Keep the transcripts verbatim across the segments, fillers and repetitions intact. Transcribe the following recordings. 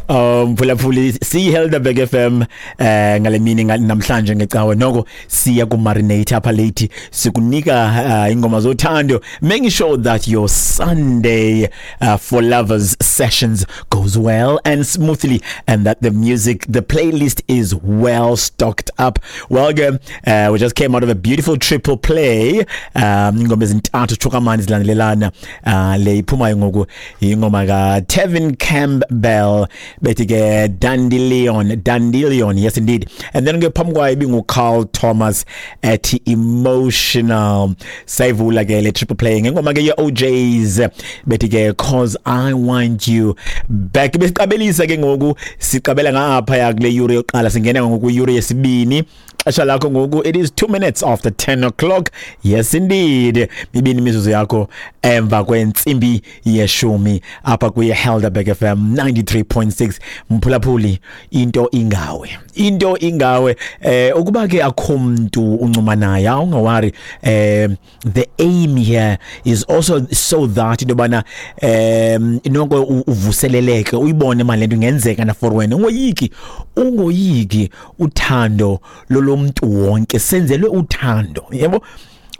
Um phulaphuli, siyiHelderberg F M eh ngale mini namhlanje ngecawe, noko siya ku marinate apha late, sikunika uh, ingoma zothando, making sure that your Sunday uh, for lovers sessions goes well and smoothly and that the music, the playlist is well stocked up. Well ke, uh, we just came out of a beautiful triple play, um ingoma ezintathu chukamani zilandelelana. uh, le iphumayo ngoku ingoma ka Tevin Campbell, bethi ke Dandelion, Dandelion, yes indeed. And then ke phambi kwayo ibingu Carl Thomas ethi Emotional. Sayivula ke le triple play ngengoma ke ye O Js, bethi ke Cause I Want You Back. Besiqabelisa ke ngoku, siqabela ngapha ya kule yure yokuqala, singena ngoku yure yesibini. Xesha lakho ngoku, it is two minutes after ten o'clock. Yes indeed, mibini imizuzu yakho emva kwentsimbi yeshumi apha kuye Helderberg F M ninety-three point six. Mphulaphuli, into ingawe, into ingawe. eh ukuba ke akho mntu uncuma naye, awungawari. eh the aim here is also so that into bana um inoko uvuseleleke, uyibone mali lento ingenzeka na for wena. Ungoyiki, ungoyiki. Uthando lolomntu wonke, senzelwe uthando, yebo.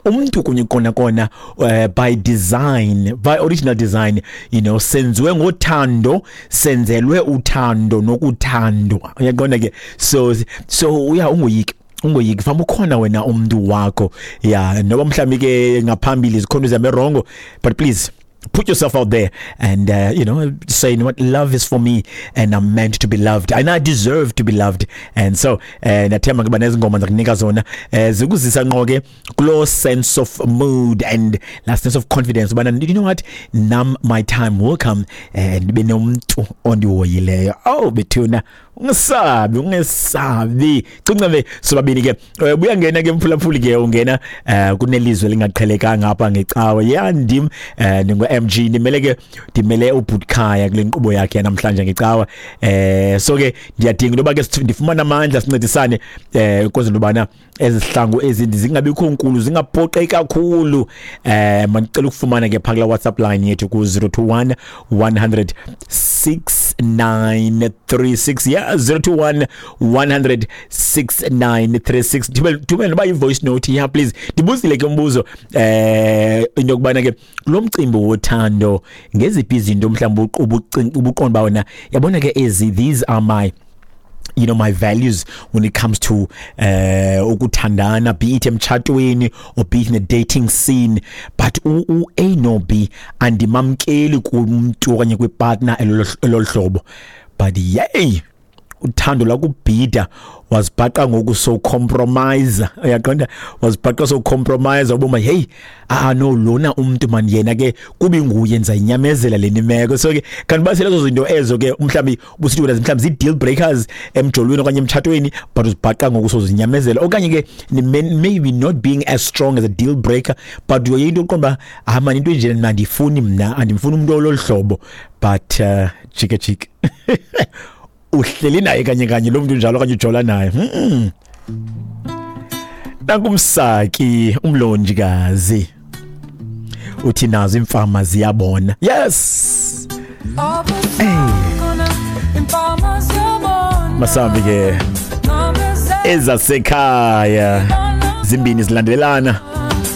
Umuntu kunye kona kona uh, by design, by original design you know senziwe ngothando, senzelwe uthando nokuthandwa, uyaqonda ke? so so uya ungoyiki, ungoyiki famba, ukhona wena umuntu wakho ya, noba mhlawumbi ke ngaphambili zikhona izinto wrong, but please put yourself out there and uh, you know say, "You know what, love is for me and I'm meant to be loved and I deserve to be loved." And so eh nathemba kuba nezingoma zakunika zona eh zikuzisa ngqo ke kulo sense of mood and la sense of confidence ubana, you know what, nam my time will come and benomuntu ondihoyileyo. Oh bethuna, ungesabi, ungesabi, cinca sobabini ke. Buya ngena ke mphulaphuli ke, ungena eh kunelizwe lingaqhelekanga apha ngecawe. Ya, ndim eh ningu M G, ndimele ke, ndimele uButkhaya kule nkqubo yakhe namhlanje ngecawa. eh so ke ndiyadinga into yoba ke ndifumana amandla, sincedisane eh ukwenzela ubana ezihlangu ezindi zingabikho nkulu, zingaphoqeki kakhulu. eh mandicela ukufumana ke phaka la WhatsApp line yethu ku zero two one one hundred six nine three six. Yeah, zero two one one hundred six nine three six. Thumela, thumela noba i-voice note. Yeah, please. Ndibuzile ke umbuzo eh into yokubana ke lo mcimbi wothando, ngeziphi izinto mhlawumbe ubuqonda uba wena yabona ke ezi, these are my you know my values when it comes to uh ukuthandana, be it emtshatweni or be it in a dating scene, but u, u A no B andimamkeli kumuntu okanye kwipartner elolu hlobo. But yey, uthando lakubhida, wazibhaqa ngoku so compromise, uyaqonda? Wazibhaqa so compromise, uboma hey, ah no, lona umuntu man yena ke kubi nguye, ndizayinyamezela le nimeko. So ke kanti basele lezo zinto ezo ke mhlawumbi ubusithi wena mhlawumbi zi deal breakers emjolweni okanye emtshatweni, but uzibhaqa ngoku sozinyamezela, okanye ke maybe not being as strong as a deal breaker, but uyoyinto into uqonda ah man, into enjena mna andifuni, mna andimfuni umuntu ololu hlobo, but uh, jike jike uhleli naye kanye kanye lo muntu njalo okanye ujola naye. mm. Nankumsaki umlonjikazi uthi nazo imfama ziyabona. Yes, hey. Masambi ke ezasekhaya zimbini zilandelelana.